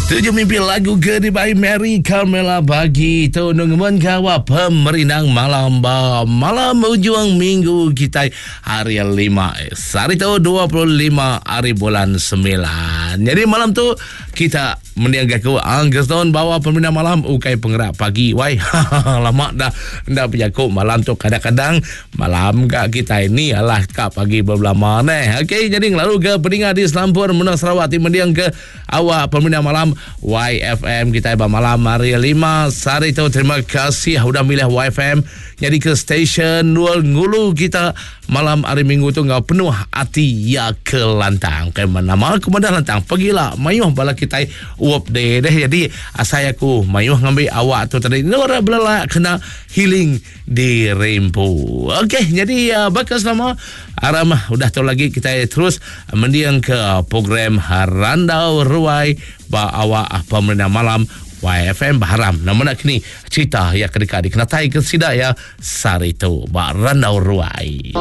Tuju mimpi lagu ke dibai Mary Carmela pagi tu nungemen gawa pemerindang malam ba malam ujung minggu kitai hari lima. Sehari tu 25 hari bulan 9. Jadi malam tu kita Mending ke aku Anggeston bawa pemindah malam ukai pengerak pagi wai. Lama dah enda bejaku malam tu kadang-kadang malam ga kitai ni alah ka pagi belama neh. Okey jadi ngelalu ke peninga di selampur menua Sarawak ti mending ke awak pemindah malam YFM kitai ba malam hari lima sehari tu. Terima kasih udah milih YFM nyadi ke stesen ngulu kita Malam hari minggu tu enggau penuh ati iya ke lantang. Kai nama aku madah lantang pagila mayuh bala kitai up deh deh jadi asai aku mayuh ngambi awak tu tadi endur belelak kena healing diri empu. Okey jadi uh, baka selama aram udah tu lagi kitai terus mending ke program Randau Ruai ba awak pemerintah malam YFM Baharam. Nama nak kini cerita yang kedeka dikenatai ke sida ya Sehari tu ba Randau Ruai.